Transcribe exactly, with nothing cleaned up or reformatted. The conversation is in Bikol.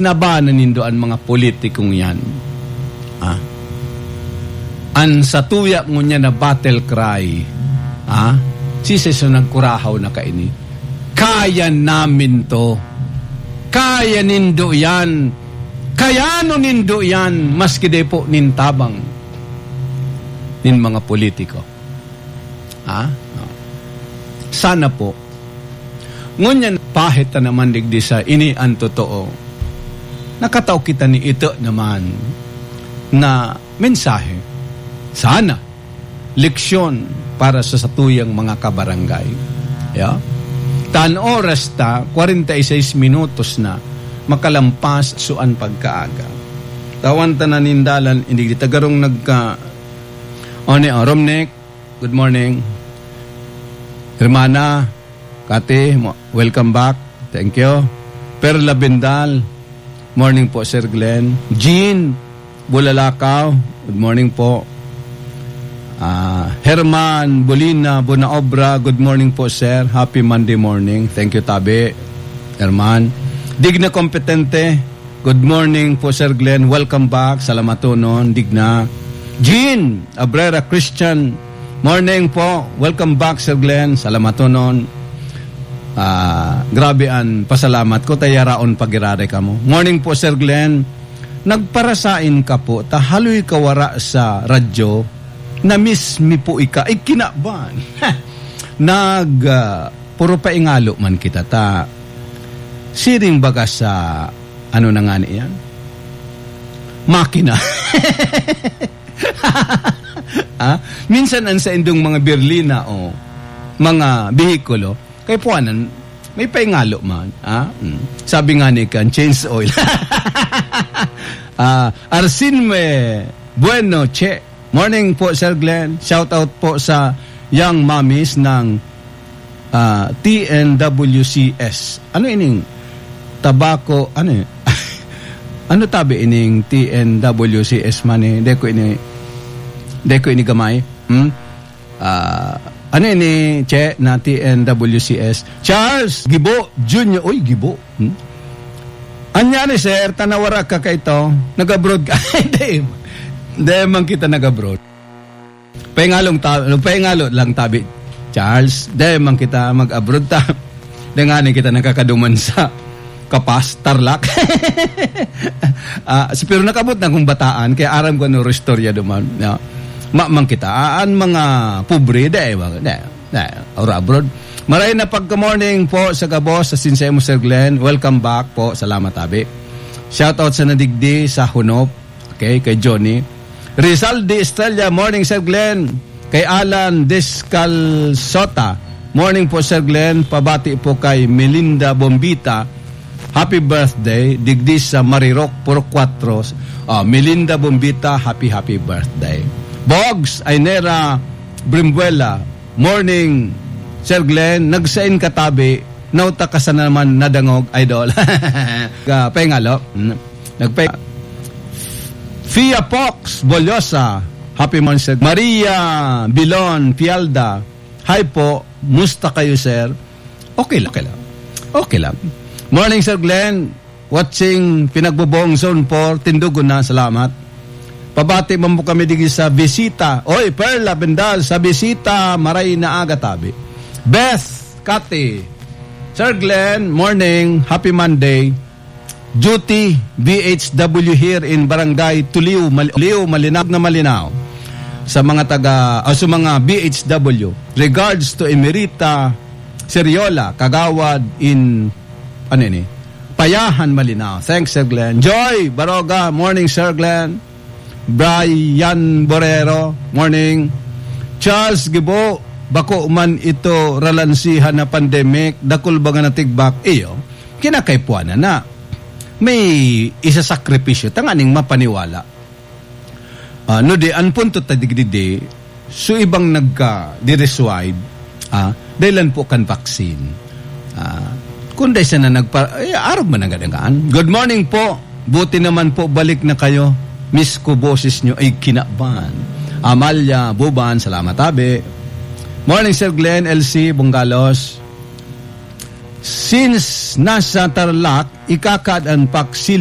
Labanan nindo an mga politikong yan. Ah. An satuya ngunyan na battle cry, ah, siisay so nagkurahaw na kaini? Kaya namin to. Kaya nindo yan. Kayano nindo yan, maski di po nin tabang nin mga politiko. Ha? Sana po. Ngunyan, pahit ta naman digdi sa ini an totoo. Nakatao kita ni ito naman na mensahe. Sana. Leksyon para sa satuyang mga kabarangay. Ya? Tan oras ta, kwarenta y seis minutos na, makalampas so an pagkaaga. Tawan ta na nin dalan, inigdi ta garong nagka-, o ni, o, Romnick, good morning. Hermana, Kati, mo-, welcome back. Thank you. Perla Bendal, morning po, Sir Glenn. Jean Bulalakaw, good morning po. Ah, Herman Bolina Bonaobra, good morning po, sir. Happy Monday morning. Thank you, tabi, Herman. Digna Kompetente, good morning po, Sir Glenn. Welcome back. Salamaton, Digna. Jean Abrera Christian, morning po. Welcome back, Sir Glenn. Salamaton. Ah, grabe an pasalamat ko, ta yaraon pa giraray kamo. Morning po, Sir Glenn. Nagparasain ka po, ta haloy ka wara sa radyo, na-miss mi po ika. Ay, kinaban. Nag, ah, puro paingalo man kita, ta siring baga sa, ano na ngani yan? Makina. Ah, minsan an saindong mga berlina o mga behikulo, kaipuhanan, may paingalo man, ah? Mm. Sabi nga ni kan, change oil. Ah, Arsinme Bueno, Che. Morning po, Sir Glenn. Shout out po sa young mommies ng, ah, T N W C S. Ano ining tabako? Ano yun? Ano tabi ining T N W C S man eh? Di ko ini, di ko ini gamay. Hmm? Ah, ano ini, Che, na T N W C S? Charles Gibo Junior. Uy, Gibo. Hmm? Anyari, sir, tanawara ka kaito. Nag-abroad ka. Hindi. Hindi man kita nag-abroad. Paingalong ta-, paingalo lang tabi, Charles. Di man kita mag-abroad ta. Di nga ni kita nakakaduman sa Kapas, Tarlac. Ah, si-, pero nakabot na kong bataan, kaya aram ko ano istorya duman. Ya. Ma-, man kita. Ah, an mga pobre, di, di, di, ora abroad. Maray na pagka-morning po sa gabos, sa sinsay mo, Sir Glenn. Welcome back po. Salamat, abi. Shout out sa nadigdi, sa Hunop. Okay, kay Johnny. Rizal de Estrella, morning, Sir Glenn. Kay Alan Descalzota, morning po, Sir Glenn. Pabati po kay Melinda Bombita, happy birthday, digdi sa Marirok, Purok Cuatro. Ah, Melinda Bombita, happy, happy birthday. Bogs Ainera Brimbuela, morning, Sir Glenn. Nagsain katabi, nauta ka sa naman nadangog, idol. Ka, paingalo. Mm. Nagpa-, Fia Fox Boliosa, happy morning, sir. Maria Bilon Pialda, hi po, musta kayo, sir? Okay lang, okay lang. Okay lang. Morning, Sir Glenn. Watching, Pinagboboong Zone four, Tindugo na, salamat. Pabati man po kami digi sa Bisita. Oy, Perla Bendal, sa Bisita, maray na aga tabi. Beth, Kati, Sir Glenn, morning, happy Monday. Duty, B H W here in Barangay Tuliw, Mal-, Tuliw, malinaw na malinaw. Sa mga taga, o sa mga B H W, regards to Emerita Seriola, Kagawad in, ano ini? Payahan, malinaw. Thanks, Sir Glenn. Joy Baroga, morning, Sir Glenn. Brian Borrero, morning. Charles Gibo, bako man ito ralansihan na pandemic, dakul ba nga natigbak? Iyo, kinakaipuanan na. May isasakripisyo tanganing mapaniwala. Ah, no di, an punto ta digdi, so ibang nagka-diriswide, ah, dahilan po kan vaccine. Ah, kung dahil siya na nagpa-, eh, arog man ang ganagaan. Good morning po. Buti naman po, balik na kayo. Miss ko boses nyo. Ay, kinaban. Amalia Buban, salamat, abi. Morning, Sir Glenn, L C, Bunggalos. Since nasa Tarlac, ikakaad an paksili